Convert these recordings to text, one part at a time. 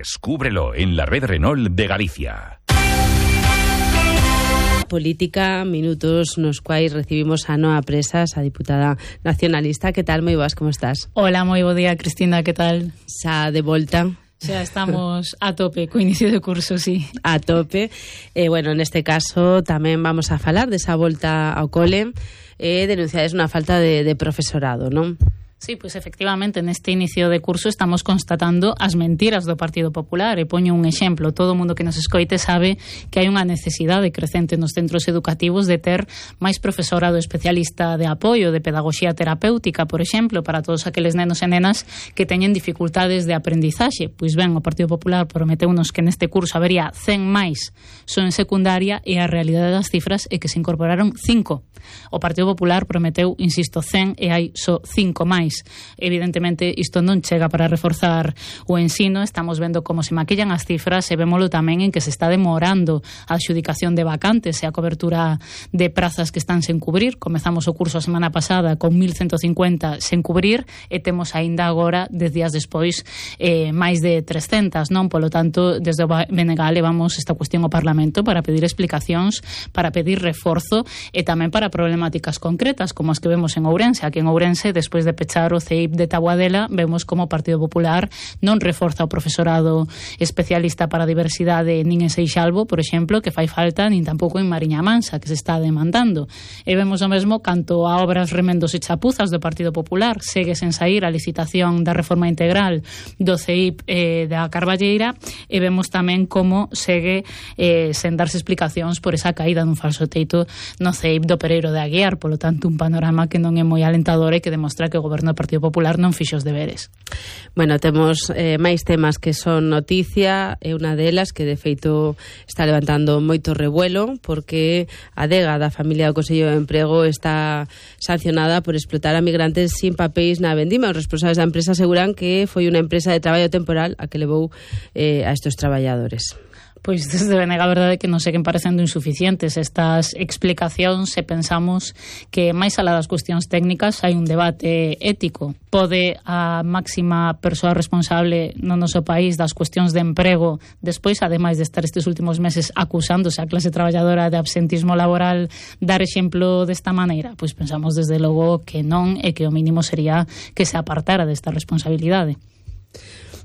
Descúbrelo en la red Renault de Galicia. Política, minutos nos quais recibimos a Noa Presas, a diputada nacionalista. Que tal? Moi boas, como estás? Hola, moi bo día, Cristina, que tal? Xa de volta. Xa estamos a tope co inicio de curso, sí. A tope. Bueno, neste caso tamén vamos a falar desa volta ao cole. Denunciades unha falta de profesorado, non? Sí, pois efectivamente neste inicio de curso estamos constatando as mentiras do Partido Popular. E poño un exemplo: todo o mundo que nos escoite sabe que hai unha necesidade crecente nos centros educativos de ter máis profesorado especialista de apoio, de pedagogía terapéutica, por exemplo, para todos aqueles nenos e nenas que teñen dificultades de aprendizaxe. Pois ben, o Partido Popular prometeunos que neste curso habería 100 máis só en secundaria, e a realidade das cifras é que se incorporaron 5. O Partido Popular prometeu, insisto, 100 e hai só 5 máis. Evidentemente isto non chega para reforzar o ensino. Estamos vendo como se maquillan as cifras e vémolo tamén en que se está demorando a adxudicación de vacantes e a cobertura de prazas que están sen cubrir. Comezamos o curso a semana pasada con 1150 sen cubrir e temos aínda agora, 10 días despois, máis de 300, non? Polo tanto, desde o BNG levamos esta cuestión ao Parlamento para pedir explicacións, para pedir reforzo e tamén para problemáticas concretas como as que vemos en Ourense. Aquí en Ourense, despois de pechar o CEIP de Taboadela, vemos como o Partido Popular non reforza o profesorado especialista para a diversidade nin en Seixalbo, por exemplo, que fai falta, nin tampouco en Mariña Mansa, que se está demandando. E vemos o mesmo canto a obras, remendos e chapuzas do Partido Popular. Segue sen sair a licitación da reforma integral do CEIP da Carballeira, e vemos tamén como segue sen darse explicacións por esa caída dun falso teito no CEIP do Pereiro de Aguiar. Polo tanto, un panorama que non é moi alentador e que demostra que o goberno do Partido Popular non fixo os deberes. Bueno, temos máis temas que son noticia, e unha delas que de feito está levantando moito revuelo, porque a adega da familia do Consello de Emprego está sancionada por explotar a migrantes sin papéis na vendima. Os responsables da empresa aseguran que foi unha empresa de traballo temporal a que levou a estes traballadores. Pois desde BNG a verdade é que nos seguen parecendo insuficientes estas explicacións, e pensamos que máis alá das cuestións técnicas hai un debate ético. Pode a máxima persoa responsable no noso país das cuestións de emprego, despois, ademais de estar estes últimos meses acusándose a clase traballadora de absentismo laboral, dar exemplo desta maneira? Pois pensamos desde logo que non, e que o mínimo sería que se apartara desta responsabilidade.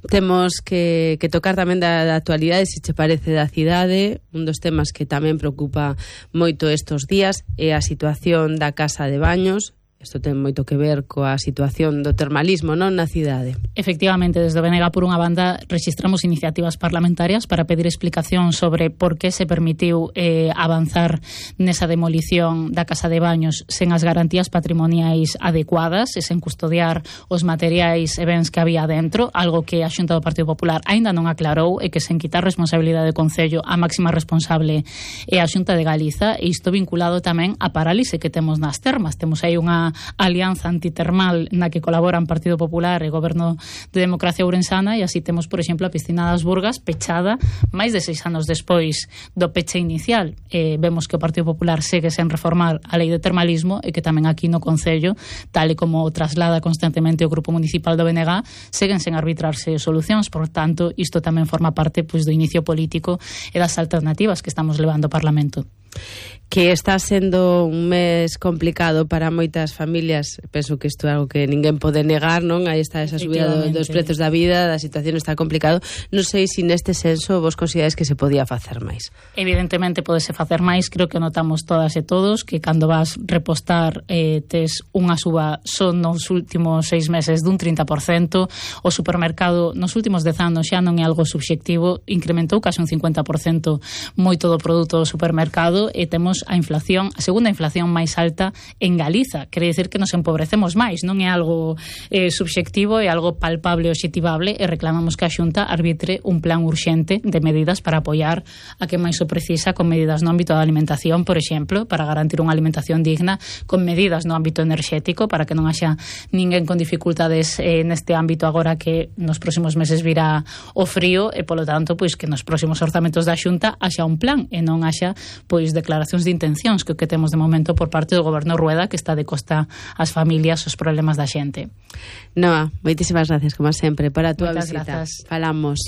Temos que tocar tamén da actualidade, se che parece, da cidade. Un dos temas que tamén preocupa moito estes días é a situación da casa de baños. Isto ten moito que ver coa situación do termalismo, non, na cidade. Efectivamente, desde o BNG, por unha banda, registramos iniciativas parlamentarias para pedir explicación sobre por que se permitiu avanzar nesa demolición da casa de baños sen as garantías patrimoniais adecuadas e sen custodiar os materiais e bens que había dentro, algo que a Xunta do Partido Popular aínda non aclarou, e que sen quitar responsabilidade do Concello, a máxima responsable é a Xunta de Galiza, e isto vinculado tamén á parálise que temos nas termas. Temos aí unha alianza antitermal na que colaboran Partido Popular e Goberno de Democracia Ourensana, e así temos, por exemplo, a piscina das Burgas pechada máis de 6 anos despois do peche inicial. Vemos que o Partido Popular segue sen reformar a lei de termalismo, e que tamén aquí no Concello, tal e como traslada constantemente o Grupo Municipal do BNG, seguen sen arbitrarse solucións. Por tanto, isto tamén forma parte do inicio político e das alternativas que estamos levando ao Parlamento. Que está sendo un mes complicado para moitas familias. Penso que isto é algo que ninguén pode negar, non? Aí está esa subida dos prezos da vida, da situación está complicado. Non sei se neste senso vos consideráis que se podía facer máis. Evidentemente podese facer máis. Creo que notamos todas e todos que cando vas repostar tes unha suba só nos últimos 6 meses dun 30%. O supermercado nos últimos 10 anos xa non é algo subxectivo, incrementou case un 50% moito do produto do supermercado, e temos a inflación, a segunda inflación máis alta en Galiza. Quere dicir que nos empobrecemos máis, non é algo subxectivo, é algo palpable e obxectivable, e reclamamos que a Xunta arbitre un plan urxente de medidas para apoiar a que máis o precisa, con medidas no ámbito da alimentación, por exemplo, para garantir unha alimentación digna, con medidas no ámbito enerxético para que non haxa ninguén con dificultades neste ámbito agora que nos próximos meses virá o frío, e polo tanto, pois que nos próximos orzamentos da Xunta haxa un plan e non haxa pois declaracións de intencións que temos de momento por parte do Goberno Rueda, que está de costa ás familias, os problemas da xente. Noa, moitísimas gracias, como sempre, para a túa visita. Grazas. Falamos.